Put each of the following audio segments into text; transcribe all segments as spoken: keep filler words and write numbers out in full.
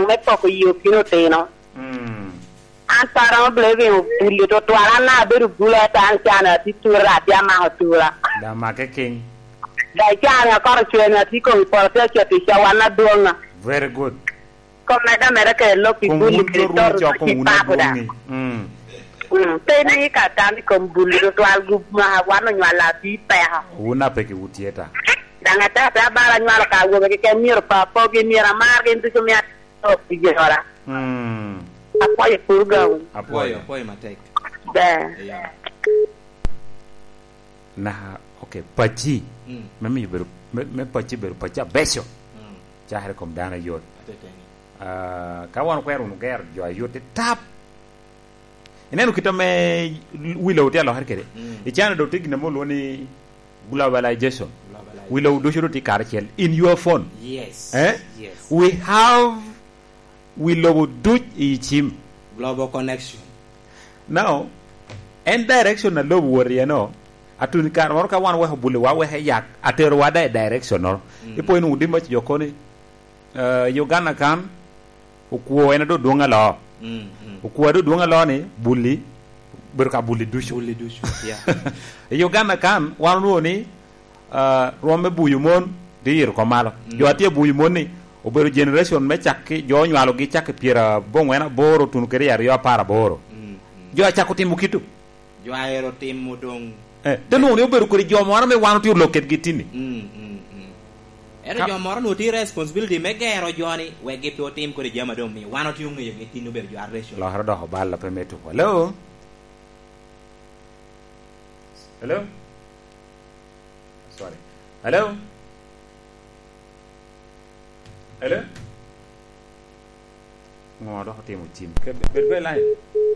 me poko yi okino otino. Mm. An pe aromo bili bino buli tutwal, an daŋ abedo bulu, ento an can atye tura, atye amako tura. Daŋ make king. Daŋ can akoro cwer, atye i kom i poto, atye acito i cawan adwoŋ. Very good. Kom medde ameda kede lok i buli kede toto i papo da. Mm. Mm, pe ni ka tam i kom buli tutwal, gu-, ma wan onywalo atye i peko. Wun apeki wutye ta. Daŋ ate, ate abalo anywalo ka awobe keken, myero pa pogi, myero amar gin ducu, myero ato pi jora. Mm. Apwoyo pur gawu. Apwoyo. Apwoyo, apwoyo matek. Ber. Iya. Na, okay, pacci. Mm. Me miyo bedo, me, me pacci bedo pacci abeco. Mm. Cakere kom dano ayot. Ateteni. Ah, ka wan okwero wunu gero jo ayot i tap. Ineno kit ame wi lobo tye alokere kede? Mm. I China doŋ tye gin ame olwoŋo ni globalization. Globalization. Wi lobo ducu doŋ tye karacel in your phone. Yes. Eh? Yes. We have wi lobo duc i cim. Global connection. Now, en direction a lobo wot iye no, atun kare moro ka wan weko buliwa, weko yak, aterowa da i direction noro. Mm. Ipo inwoŋo di mac jo koni, eh, Uganda kan, okwo en a doŋ dwoŋ aloo. Mm, mm. Okwo a doŋ dwoŋ aloo ni, buli, bedo ka buli ducu. Buli ducu, yeah. I Uganda kan, wan onwoŋo ni, ah, rwom me buyo mon, tye iro kom malo. Mm. Jo a tye buyo mon ni, obedo generation me cakki, jo onywalogi cakki pyerabongwen aboro tuno kede i aryo apar aboro. Mm, mm. Jo acako timo kito. Jo a ero timo doŋ. Eh, te nwoŋo ni obedo kodi jo moro ame wan otye olok kedgi tinni. Mm, mm, mm. Ento ka jo moro nwoŋo tye responsibility me gero jo-ni, wek gin pe otim kodi jami a doŋ omio wan otye oŋeyogi tinni obedo jo a racial. Lokere dok oballa pe me tuko. Hello? Hello? Sorry. Hello? Hello? Ŋo dok otimo cim? Ke-, bed, bed kede line.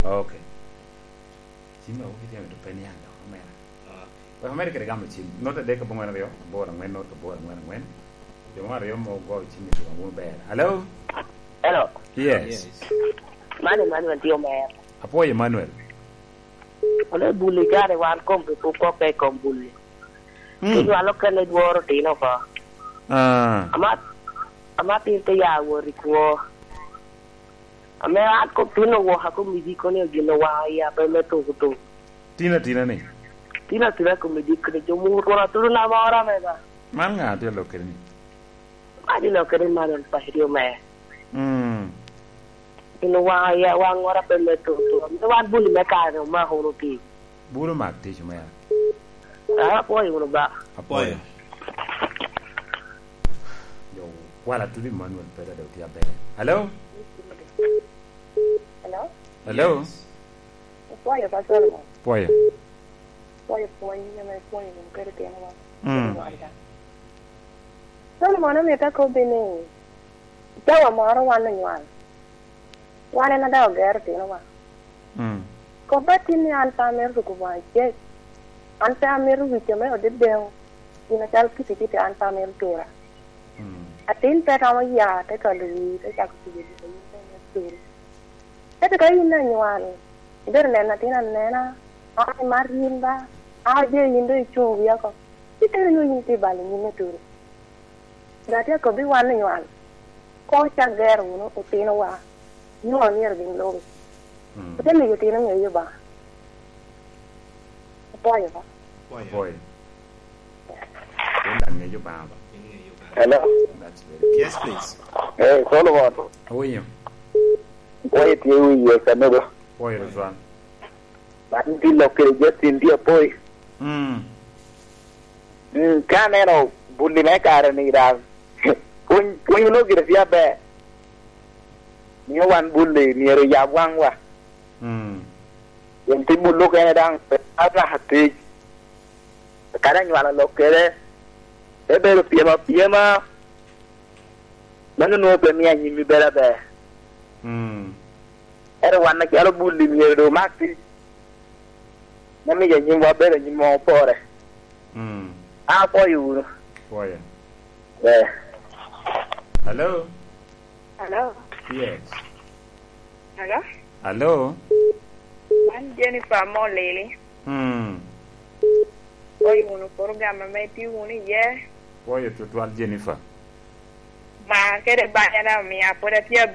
Okay. Cim a wuki tye mito pe niaŋ dok, omera. Okay. Wek omera kede gamo cim. Note adek abongwen aryo, aboro angwen, note aboro angwen angwen. Jo mo aryo mo ogo cim i tuka, wun ber. Hello? Hello. Yes. Yes. Man Emmanuel tye omera. Apwoyo Emmanuel. Kono i buli kare wan kom rik okokke i kom buli. Mm. Onywalo kene dworo otino oko. Ah. Ama, ama tin te ya wot i kwo. Ame an kom tin owoka kom i jiko ni gin owaŋo iya pe me tuko tuko. Tin atina ni? Tin atina kom i jiko ni jo mur twon atudo na moro ame ba. Man ŋa tye lok kede ni? Wan ilokere man en pacci omee. Mm. Gin owaŋo iya, waŋ ŋora pe me toto. Ame wan buli me kare ni omako wunu pi. Bulu mak tic omea. Ah, apwoyo wunu ba. Apwoyo. Yo, kwala tudi Emmanuel Peter de otye aber. Hello? Hello? Yes. Apwoyo, Pastor mo. Apwoyo. Pwoyo pwony ame ipwonyo wunu kede tinowa. Mm. Kede wada. Solomon omito akobbi ni, i cawa moro wan onywal, wan en a daŋ ogero tinowa. Mm. Kobba tin ni an pe amito tuko boŋo acel, an pe amito wic ame odedeo, gin acalo kiti kiti an pe amito tura. Mm. Atin pe romo ya, te kalo wii, te cako tugo gin a yin pe imito turo. Ento ka yin anywal, ibedo neno atin anena, a, imar yin ba, a, je yin doŋ icuŋ wii oko, itero nyo yin tye balo nyimme turo. Doŋ atye akobbi wan onywal, koŋ ocak gero wunu otinowa, nyo myero gin lubi. Mm. Ote miyo otino ŋeyo Obaŋa. Apwoyo ba. Apwoyo. Apwoyo. Pien daŋ ŋeyo Obaŋa ba. Hello. That's very good. Yes, please. Hey, Solomon. Awinyo. Apwoyo tye wiye kanedo. Apwoyo tutwal. Man tye lok kede Justin tye apwoyo. Mm. Mm, ka aneno bulli me kare ni daŋ, pwony, pwony onongo gire tye aber. Mio wan bulli myero oyab waŋwa. Mm. Pien timo lok ene daŋ pe anaka tic. Kadi anywalo lok kede, ebedo pyem apyema. Mano nwoŋo pe mio anyimmi bedo aber. Mm. Ento wan acalo bulli myero doŋ omak tic. Me miyo anyimwa bedo anyim ma opore. Mm. An apwoyo wunu. Apwoyo. Eh. Hello? Hello? Yes. Hello? Hello? Man Jennifer Molili. Hmm. Apwoyo wunu program ame itye wunu iye. Apwoyo tutwal, Jennifer. Mar kede banya daŋ omia pwod atye aber.